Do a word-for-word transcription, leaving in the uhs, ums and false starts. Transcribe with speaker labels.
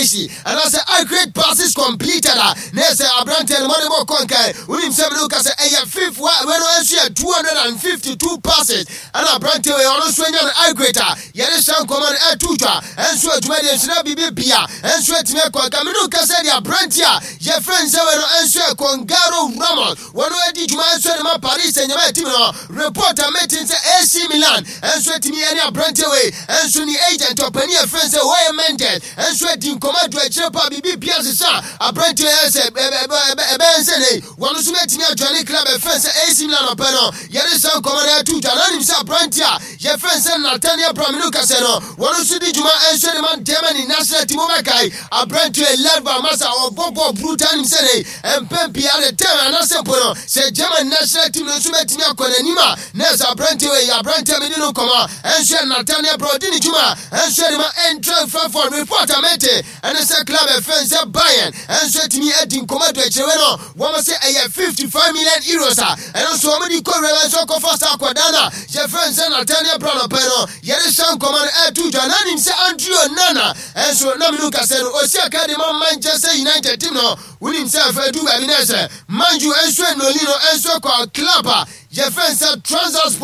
Speaker 1: Anaasɛ accurate passes completed a, na ɛsɛ aberanteɛ no mɔde bɔ kɔnkan. Wonim sɛ mene woka sɛ ɛyɛ fifth wa wei no nso yɛ two hundred fifty-two passes, ɛna aberanteɛ wei ɔno nso anya no accurate a yɛde hyɛ nkɔmmɔ no ɛto twa. Ɛnso adwumadeɛ nso na biribi bia ɛnso atumi akɔnka. Mene woka sɛ deɛ aberanteɛ a yɛfrɛ nsɛ wei no nso yɛ Goncalo Ramos, wɔno adi dwuma nso de ma Paris Saint-Germain team no. Report a metin sɛ A C Milan ɛnso atumi ɛne aberanteɛ wei ɛnso ne agent ɔpani yɛfrɛ sɛ Jorge Mendes ɛnso adi nkɔmmɔ adu akyire pa. Biribi bia sesa aberanteɛ yɛ sɛ ɛbɛyɛ nsɛ ne wɔno nso bɛtumi adwane club ɛfrɛ sɛ A C Milan ɔpɛ no. Yɛde sa nkɔmmɔ no ɛto dwa na nim sɛ aberanteɛ a yɛfrɛ sɛ Nathaniel Brown, mene kasɛ no, wɔno nso di dwuma ɛnso de ma Germany national team. Wobɛkae aberanteɛ left back masa ɔbɔ bɔ brutal. Nim sɛ ne mpɛn pii ade tɛm anaasɛ mpo no sɛ German national team no nso bɛtumi akɔ n'anim a, na ɛsɛ aberanteɛ wei, aberanteɛ mede no nkɔmmɔ ɛnso yɛ Nathaniel Brown, ɔdi ne dwuma ɛnso de ma Eintracht Frankfurt. Report a mete ɛne sɛ club ɛfɛn sɛ Bayern ɛnso atumi adi nkɔmmɔ adu akyerɛwɛ no, wɔn sɛ ɛyɛ fifty-five million euros a ɛno nso wɔn de kɔ wura nso akɔfa saa akwadaa no a yɛfrɛ sɛ Nathaniel Brown ɔpɛ no. Yɛde hyɛ nkɔmmɔ no ɛto dwa na nim sɛ Andre Onana ɛnso na menu kasɛ no osi aka de ma Manchester United team no. Wonim sɛ afɛ du baabi na ɛsɛ Man U ɛnso enoli no ɛnso kɔ club a yɛfrɛ sɛ Trabzonspor.